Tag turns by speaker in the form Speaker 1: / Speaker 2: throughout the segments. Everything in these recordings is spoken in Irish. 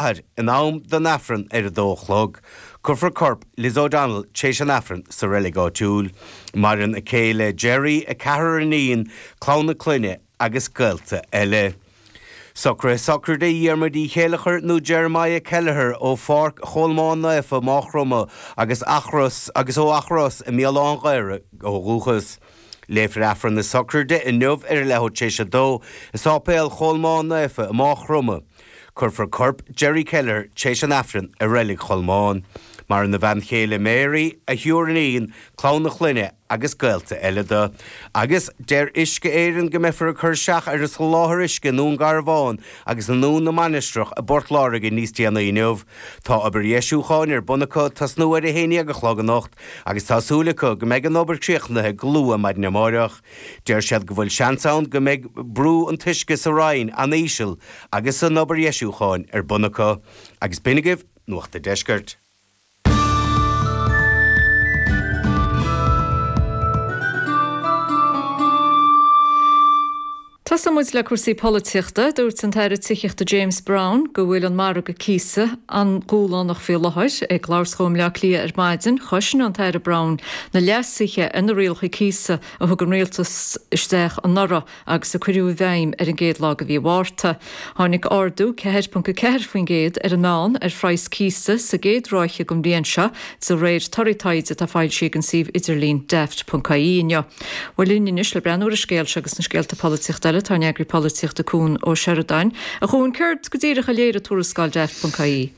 Speaker 1: Cathair in am don Aifreann ar a dó a chlog. Cuirfear corp Liz O'Donnell tréis an Aifrinn sa reilig áitiúil. Maireann a céile Gerry, a ceathrar iníon, clann a clainne agus gaolta eile. Socruithe sochraide Dhiarmuid Uí Chéilleachair nó Jeremiah Kelleher ó Pháirc Cholmáin Naofa, Máigh Chromtha agus Achros agus ó Achros i mBéal Átha'n Ghaorthaidh ó dhúchas. Léifear Aifreann na sochraide inniu ar a leathuair tar éis a dó i Sáipéal Cholmáin Naofa i Máigh Chromtha. Cuirfear corp Gerry Kelleher tar éis an Aifrinn i Reilig Cholmáin. Maireann a bhean chéile Mary, a thriúr iníon, clann a chlainne agus gaolta eile do. Agus deir Uisce Éireann go mbeifear ag cur isteach ar an soláthar uisce i nDún Garbhán agus i nDún na Mainistreach i bPort Láirge níos déanaí inniu. Tá obair dheisiúcháin ar bun acu ag tosnú ar a haon dhéag a chlog anocht agus tá súil acu go mbeidh an obair críochnaithe go luath maidin amáireach. Deir siad go bhfuil seans ann go mbeidh brú an t-uisce sa Rinn an-íseal agus an obair dheisiúcháin ar bun acu. Agus b'in agaibh Nuacht a' Deiscirt.
Speaker 2: Tosóidh muid le cúrsaí polaitíochta. Dúirt an tAire Tithíochta James Browne go bhfuil an margadh cíosa an-dúshlánach faoi láthair. Ag labhairt dhó i mBleá Cliath ar maidin, chosain an tAire Browne na leasuithe ar na rialacha cíosa a thug an Rialtas isteach anuraidh agus a cuireadh i bhfeidhm ar an gcéad lá de mhí Mhárta. Tháinig ardú 4.4% ar an meán ar phraghas cíosa sa gcéad ráithe den bhliain seo, de réir torthaí taighde atá foilsithe ag an suíomh idirlín Daft.ie inniu. Bhuel linn anois le breathnú ar an scéal seo agus na scéalta polaitíochta eile tá ár n-eagraí polaitíochta Cuan Ó Seireadáin. A Chuain, céard go díreach a léirigh tuarascáil Daft.ie?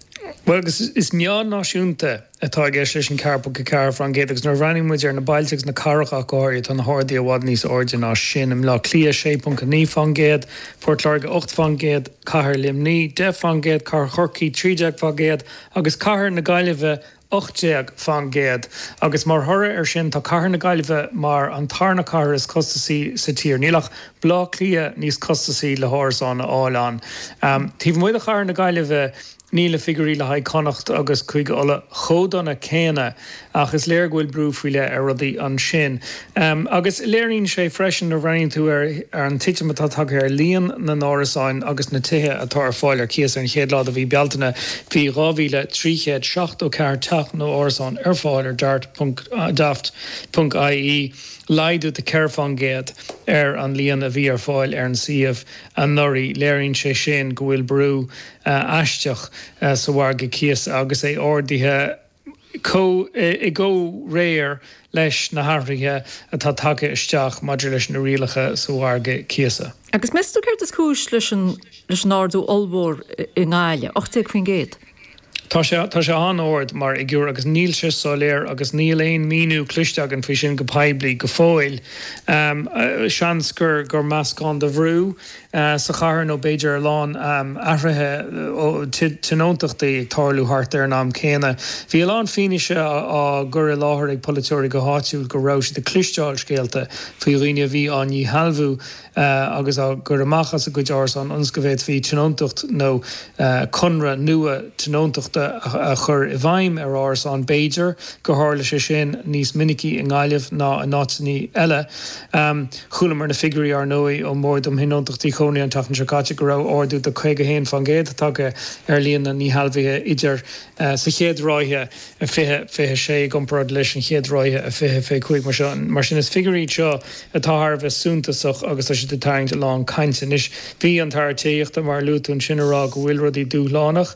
Speaker 3: Bhuel, agus is meán náisiúnta atá i gceist leis an 4.4% agus nuair a bhreathnaíonn muid ar na bailte agus na cathracha ach go háirithe, tá na harduithe i bhfad níos airde ná sin. I mBleá Cliath, 6.9%, Port Láirge, 8%, Cathair Luimnigh, 10%, Cathair Chorcaí, 13% agus Cathair na Gaillimhe, 18%. Agus mar thoradh air sin, tá Cathair na Gaillimhe mar an tarna cathair is costasaí sa tír. Níl ach Bleá Cliath níos costasaí le hárasán a fháil ann. Taobh amuigh de Chathair na Gaillimhe, níl na figiúirí le haghaidh Connacht agus Cúige Uladh chomh dona céanna ach is léir go bhfuil brú faoi leith ar rudaí ansin. Agus léiríonn sé freisin, nuair a bhreathnaíonn tú ar an titim atá tagtha ar líon na n-árasáin agus na tithe atá ar fáil ar cíos ar an chéad lá de mhí Bealtaine, bhí 2,374 teach nó árasán ar fáil ar Daft.ie, laghdú de 4% ar an líon a bhí ar fáil ar an suíomh anuraidh. Léiríonn sé sin go bhfuil brú aisteach sa mhargadh cíosa agus é ardaithe i gcomhréir leis na hathruithe atá tagtha isteach maidir leis na rialacha sa mhargadh cíosa.
Speaker 2: Agus meas tú céard is cúis leis an leis an ardú ollmhór i nGaillimh, 18%?
Speaker 3: Tá sé, tá sé an-ard mar fhigiúr agus níl sé soiléir agus níl aon míniú cloiste againn faoi sin go poiblí go fóill. Seans gur, gur meascán de bhrú sa chathair nó b'fhéidir a lán athruithe tionóntachtaí ag tarlú thart ar an am céanna. Bhí a lán fianaise á gcur i láthair ag polaiteoirí go háitiúil go raibh siad ag cloisteáil scéalta faoi dhaoine a bhí á ndíshealbhú agus á gcur amach as a gcuid árasán ionas go bhféadfaí tionóntacht nó conradh nua tionóntachta a chur i bhfeidhm ar árasán. B'fhéidir gur tharla sé sin níos minicí i nGaillimh ná in áiteanna eile. Chualamar na figiúirí, ar ndóigh, ón mBord um Thionóntachtaí Cónaithe an tseachtain seo caite go raibh ardú de 51% tagtha ar líon na ndíshealbhuithe idir sa chéad ráithe 2026 i gcomparáid leis an chéad ráithe 2025. Mar sin, is figiúirí iad seo atá thar a bheith suntasach agus tá siad ag tarraingt a lán cainte. Anois, bhí an tAire Tithíochta, mar a luaigh tú ansin, ag rá go bhfuil rudaí dúshlánach.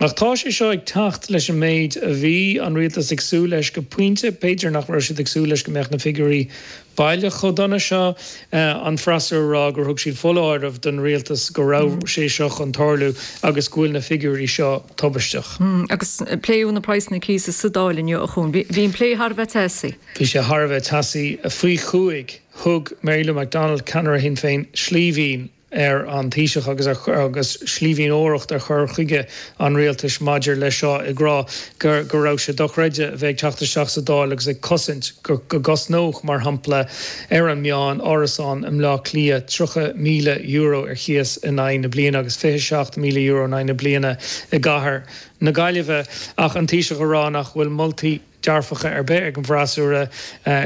Speaker 3: Ach tá sé seo ag teacht leis an méid a bhí an rialtas ag súil leis go pointe. B'fhéidir nach raibh siad ag súil leis go mbeadh na figiúirí baileach chomh dona seo. An freasúra a rá gur thug siad foláireamh don rialtas go raibh sé seo chun tarlú agus go bhfuil na figiúirí seo tubaisteach.
Speaker 2: Agus pléadh na praghsanna cíosa sa Dáil inniu, a Chuain. Bhí an plé thar a bheith teasaí.
Speaker 3: Bhí sé thar a bheith teasaí. Faoi chúig, thug Mary Lou McDonald, ceannaire Shinn Féin, slíbhín ar an Taoiseach agus agus slíbhíneoireacht ar chur chuige an rialtais maidir leis seo ag rá go go raibh sé dochreidte a bheith ag teacht isteach sa Dáil agus ag cosaint go go gcosnódh, mar shampla, ar an meán, árasán i mBleá Cliath €30,000 ar chíos in aghaidh na bliana agus €27,000 in aghaidh na bliana i gcathair na Gaillimhe. Ach an Taoiseach ag rá nach bhfuil moltaí. dearfacha ar bith ag an bhfreasúra,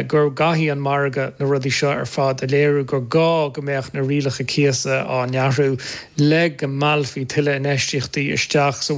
Speaker 3: go gcaithfidh an margadh na rudaí seo ar fad a léiriú gur gá go mbeadh na rialacha cíosa á n-athrú le go meallfaí tuilleadh infheistíochtaí isteach sa.